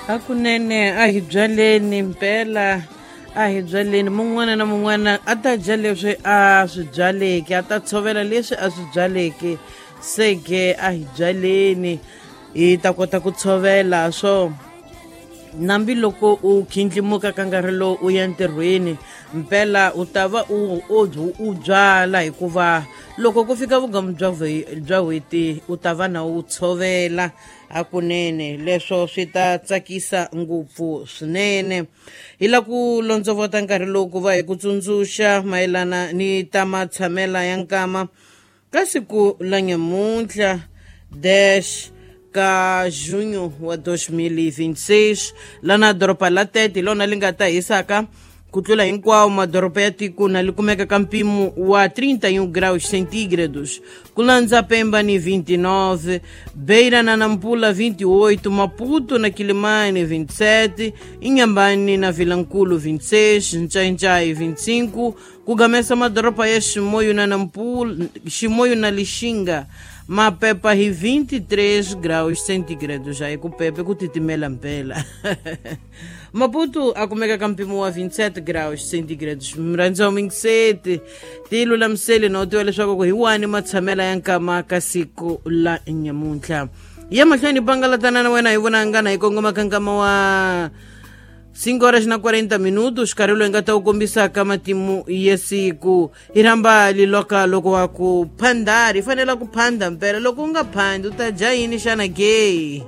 Hakunene a hi byaleni mpela, a hi byaleni. Mun'wana na mun'wana a ta dya leswi a swi byaleke, a ta tshovela leswi a swi byaleke. Se ke a hi byaleni hi ta kota ku tshovela swo. Nambi loko u khindlimuka ka nkarhi lowu u ya ntirhweni, mpela u ta va u u u byala, hikuva loko ku fika vugamu bya bya n'hweti u ta va na u tshovela hakunene. Leswo swi ta tsakisa ngopfu swinene. Hi la ku londzovota nkarhi lowu ku va hi ku tsundzuxa mayelana ni ta matshamela ya nkama ka siku la nyamuntlha 10 ka junho wa 2026, lana doroba la Tete hi lona li nga ta hisaka ku tlula hinkwawo madoroba ya tiko, na li kumeka ka mpimo wa 31 graus centígrados, ku landza Pemba ni 29, Beira na Nampula 28, Maputo na Quilimane 27, Inhambane na Vilankulo 26, Ncainchai 25, ku gamesa madoroba ya Chimoio na Nampula, Chimoio na Lixinga mapepa hi 23 graus centígrados. Aí ku pepe ku titimela mpela. Maputo a kumeka ka mpimo wa 27 graus centígrados. Murhandzi wa mingiseti, ti lulamiseli no tiva leswaku ku hi wani matshamela ya nkama ka siku la nyamuntlha. Ya mahlweni bangalatana na wena hi vonangana hi kongoma ka nkama wa 5 horas na 40 minutos, nkarhi loyi nga ta wu kombisaka matimu ya siku. Hi rhamba liloka loko wa ku phandari, hi fanela ku phanda mpela. Loko u nga phandi u ta dya yini xana ke?